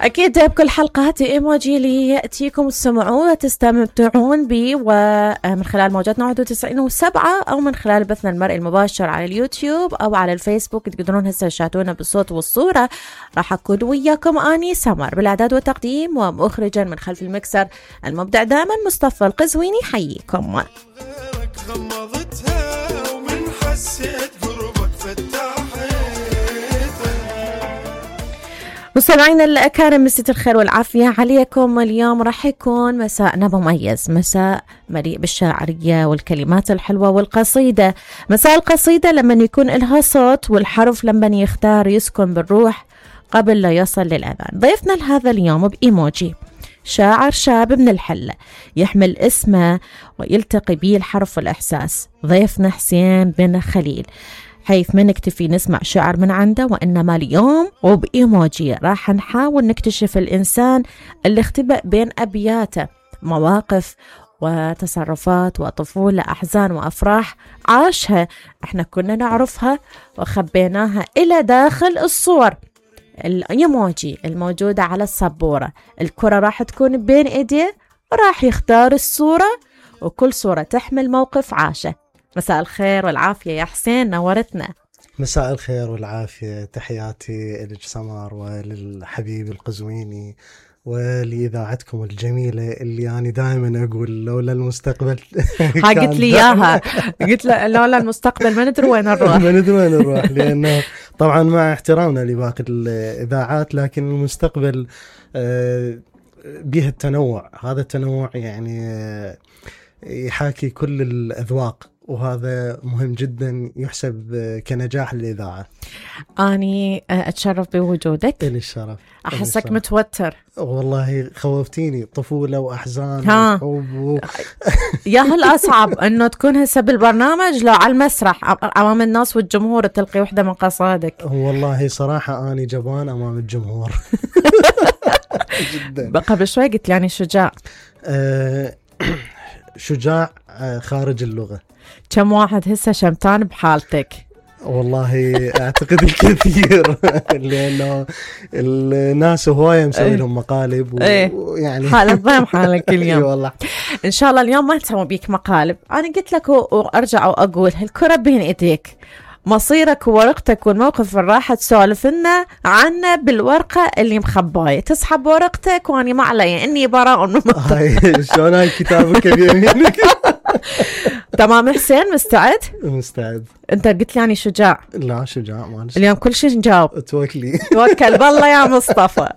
أكيد بكل حلقات إيموجي اللي يأتيكم تسمعون وتستمتعون بي، ومن خلال موجات 91.7 أو من خلال بثنا المرئي المباشر على اليوتيوب أو على الفيسبوك. تقدرون هسه تشاهدونا بالصوت والصورة. راح أكون وياكم أني سمر بالإعداد والتقديم، ومخرجا من خلف المكسر المبدع دائما مصطفى القزويني. حييكم. مستمعينا الأكارم، مساء الخير والعافية عليكم. اليوم راح يكون مساءنا مميز، مساء مليء بالشاعرية والكلمات الحلوة والقصيدة. مساء القصيدة لما يكون لها صوت، والحرف لما يختار يسكن بالروح قبل لا يصل للأذان. ضيفنا لهذا اليوم بإيموجي شاعر شاب من الحلة، يحمل اسمه ويلتقي به الحرف والإحساس. ضيفنا حسين بن خليل، حيث ما نكتفي نسمع شعر من عنده، وإنما اليوم وبإيموجي راح نحاول نكتشف الإنسان اللي اختبأ بين أبياته مواقف وتصرفات وطفولة، أحزان وأفراح عاشها احنا كنا نعرفها وخبيناها إلى داخل الصور. الإيموجي الموجودة على السبورة، الكرة راح تكون بين إيديه وراح يختار الصورة، وكل صورة تحمل موقف عاشه. مساء الخير والعافية يا حسين، نورتنا. مساء الخير والعافية، تحياتي لك سمر وللحبيب القزويني ولإذاعتكم الجميلة اللي أنا دائما أقول لولا المستقبل. قلت لي إياها، قلت لولا المستقبل ما ندري وين نروح. ما ندري وين نروح، لأنه طبعا مع احترامنا لباقي الإذاعات، لكن المستقبل بها التنوع. هذا التنوع يعني يحاكي كل الأذواق، وهذا مهم جدا يحسب كنجاح للإذاعة. أني أتشرف بوجودك. إلي الشرف. أحسك متوتر. والله خوفتيني، طفولة وأحزان وحب يا هل أصعب أنه تكون هسه بالبرنامج لو على المسرح أمام الناس والجمهور تلقي وحدة من قصائدك؟ والله صراحة أنا جبان أمام الجمهور. جدا. قبل شوي قلت يعني شجاع. شجاع خارج اللغة. كم واحد هسه شمتان بحالتك؟ والله أعتقد الكثير. لأنه الناس هواية مسوي لهم مقالب ويعني حالة ضيم حالك اليوم. والله إن شاء الله اليوم ما نسوي بيك مقالب. أنا قلت لك وأرجع وأقول هالكرة بين إيديك، مصيرك وورقتك والموقف اللي راح تسولف لنا عنه بالورقة اللي مخباية. تسحب ورقتك وأنا ما علي إني براء من شلون هاي كتابك بيمينك؟ تمام حسين، مستعد؟ مستعد. أنت قلت لي يعني شجاع. لا شجاع مالش. اليوم كل شيء نجاوب. توكل بالله يا مصطفى.